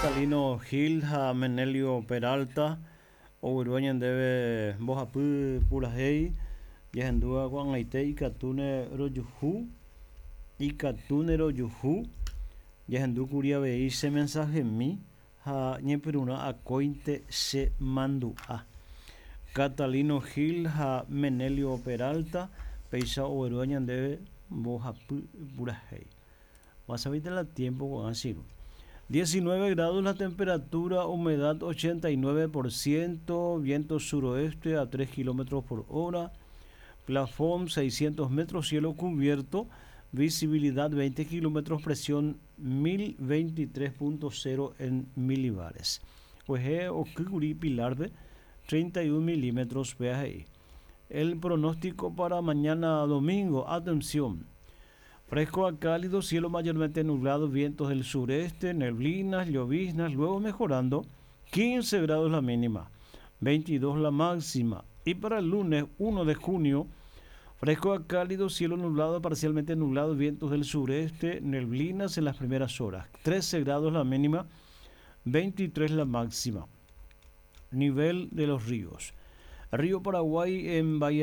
Catalino Gil ha Menelio Peralta oguerúva ñandéve mbohapy purahéi jahendúva ko'ag̃aite ikatúne rojuhu, ikatúne rojuhu, jahendúkuri avei che mensahemi ha ñepyrũrã akóinte che mandu'a. Catalino Gil ha Menelio Peralta péicha oguerúva ñandéve mbohapy purahéi. Pasavéite la tiempo ko'ág̃a che irũ. 19 grados la temperatura, humedad 89%, viento suroeste a 3 kilómetros por hora, plafón 600 metros, cielo cubierto, visibilidad 20 kilómetros, presión 1023.0 en milibares. Kuehe okýkuri Pilar-pe 31 milímetros péa he'i. El pronóstico para mañana domingo, atención! Fresco a cálido, cielo mayormente nublado, vientos del sureste, neblinas, lloviznas, luego mejorando, 15 grados la mínima, 22 la máxima. Y para el lunes 1 de junio, fresco a cálido, cielo nublado, parcialmente nublado, vientos del sureste, neblinas en las primeras horas, 13 grados la mínima, 23 la máxima. Nivel de los ríos. Río Paraguay en Bahía.